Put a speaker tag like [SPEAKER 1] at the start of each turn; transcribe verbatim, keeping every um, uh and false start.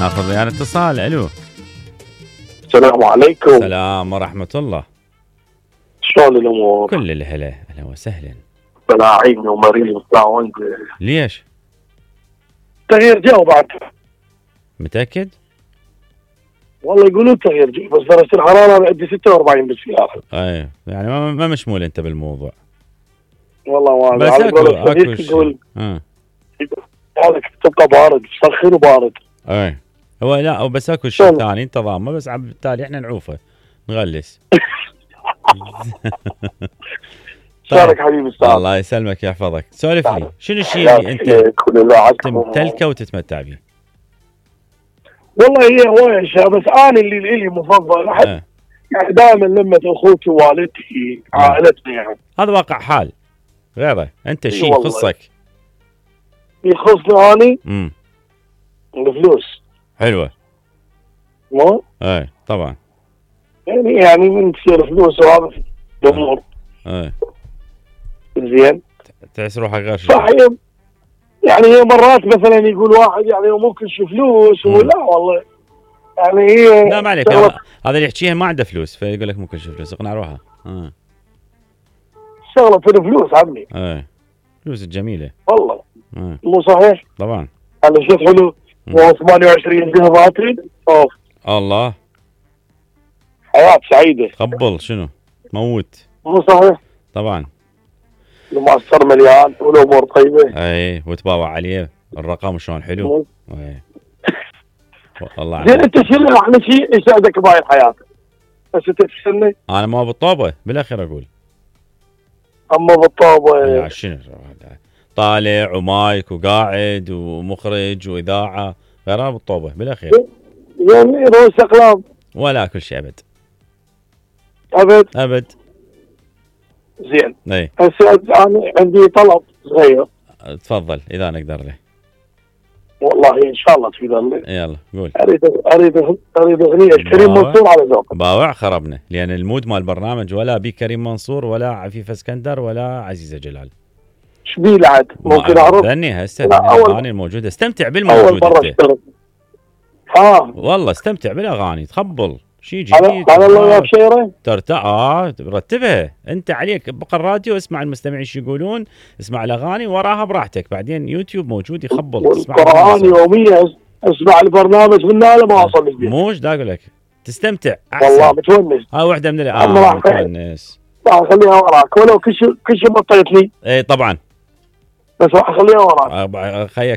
[SPEAKER 1] ناخذ ويانا اتصال. الو
[SPEAKER 2] السلام عليكم.
[SPEAKER 1] السلام ورحمة الله.
[SPEAKER 2] شلون الامور؟
[SPEAKER 1] كل الهلا. اهلا وسهلا.
[SPEAKER 2] طلعيني ومريض وطاعون.
[SPEAKER 1] ليش؟
[SPEAKER 2] تغيير جو بعد.
[SPEAKER 1] متأكد؟
[SPEAKER 2] والله يقولون تغيير جو، بس درجة الحرارة عندي ستة وأربعين بالسيارة.
[SPEAKER 1] اي يعني ما, ما مشمول انت بالموضوع.
[SPEAKER 2] والله ما
[SPEAKER 1] بس اكو اكو شيء. اه
[SPEAKER 2] هذاك تبقى بارد، سخن وبارد.
[SPEAKER 1] اي هو لا بس اكو شيء ثاني انت ضامه، بس بالتالي احنا نعوفه نغلس.
[SPEAKER 2] شارك حبيبي استاذ.
[SPEAKER 1] الله يسلمك يحفظك. سولف لي شنو الشيء اللي انت تمتلكه وتتمتع به؟
[SPEAKER 2] والله هي هواية اشياء، بس انا اللي لي مفضل احب
[SPEAKER 1] اه.
[SPEAKER 2] يعني دائما لمة اخوتي ووالدتي عائلتنا يعني.
[SPEAKER 1] هذا واقع حال غيره. انت شيء يخصك
[SPEAKER 2] يخصني اني
[SPEAKER 1] امم
[SPEAKER 2] الفلوس.
[SPEAKER 1] حلوه.
[SPEAKER 2] مو
[SPEAKER 1] اي طبعا
[SPEAKER 2] يعني يعني من تصير فلوس وهذا الامور.
[SPEAKER 1] اي
[SPEAKER 2] زين
[SPEAKER 1] تحس روحك غير شيء.
[SPEAKER 2] صحيح. يعني هي مرات مثلا يقول واحد يعني ممكن شو فلوس ولا والله يعني هي
[SPEAKER 1] لا ما عليك. هذا اللي يحكيها ما عنده فلوس فيقول لك ممكن شو فلوس. اقنع روحها. اه
[SPEAKER 2] شغله في الفلوس عمي.
[SPEAKER 1] اي فلوس الجميله
[SPEAKER 2] والله.
[SPEAKER 1] اه
[SPEAKER 2] مو صحيح؟
[SPEAKER 1] طبعا.
[SPEAKER 2] هذا شيء حلو. ثمانية وعشرين ذهباتي اوف
[SPEAKER 1] الله.
[SPEAKER 2] حياة سعيدة.
[SPEAKER 1] قبل شنو موت.
[SPEAKER 2] مو صحيح؟
[SPEAKER 1] طبعا.
[SPEAKER 2] المعصر مليان والامور طيبه.
[SPEAKER 1] اي وتباوع عليه الرقم شلون حلو. اي والله.
[SPEAKER 2] زين انت شنو احلى شيء يساعدك بهاي الحياه؟ بس انت تسالني.
[SPEAKER 1] انا ما بالطوبه بالاخير اقول.
[SPEAKER 2] اما بالطوبه
[SPEAKER 1] لا شنو طالع ومايك وقاعد ومخرج واذاعه غير بالطوبه بالاخير.
[SPEAKER 2] يعني رؤوس اقلام
[SPEAKER 1] ولا كل شيء ابد
[SPEAKER 2] ابد
[SPEAKER 1] ابد.
[SPEAKER 2] زين.
[SPEAKER 1] اي
[SPEAKER 2] هسه انا عندي طلب صغير.
[SPEAKER 1] تفضل اذا نقدر له.
[SPEAKER 2] والله ان شاء الله تقدر لي.
[SPEAKER 1] يلا قول.
[SPEAKER 2] اريد اريد اريد اغنيه كريم منصور على ذوقك.
[SPEAKER 1] باوع خربنا لان المود مال البرنامج ولا بي كريم منصور ولا عفيف اسكندر ولا عزيزه جلال.
[SPEAKER 2] ايش بيه العد؟ ممكن اعرف؟
[SPEAKER 1] ذني هسه الاغاني الموجوده. استمتع بالموجود.
[SPEAKER 2] اول مره اشتغل. ها
[SPEAKER 1] والله استمتع بالاغاني تخبل شيء جديد.
[SPEAKER 2] على الله وياك شيره
[SPEAKER 1] ترتاح. اه رتبها انت عليك. بقى الراديو اسمع المستمعين ايش يقولون، اسمع الاغاني وراها براحتك. بعدين يوتيوب موجود يخبل.
[SPEAKER 2] والقرآن يوميا اسمع البرنامج من هذا ما اوصل لك.
[SPEAKER 1] موش دا اقول لك تستمتع احسن.
[SPEAKER 2] والله متونس.
[SPEAKER 1] هاي واحده من اه متونس.
[SPEAKER 2] راح اخليها وراك ولو كل شيء كل شيء بطيتني.
[SPEAKER 1] اي طبعا
[SPEAKER 2] بس راح اخليها وراك.
[SPEAKER 1] خيك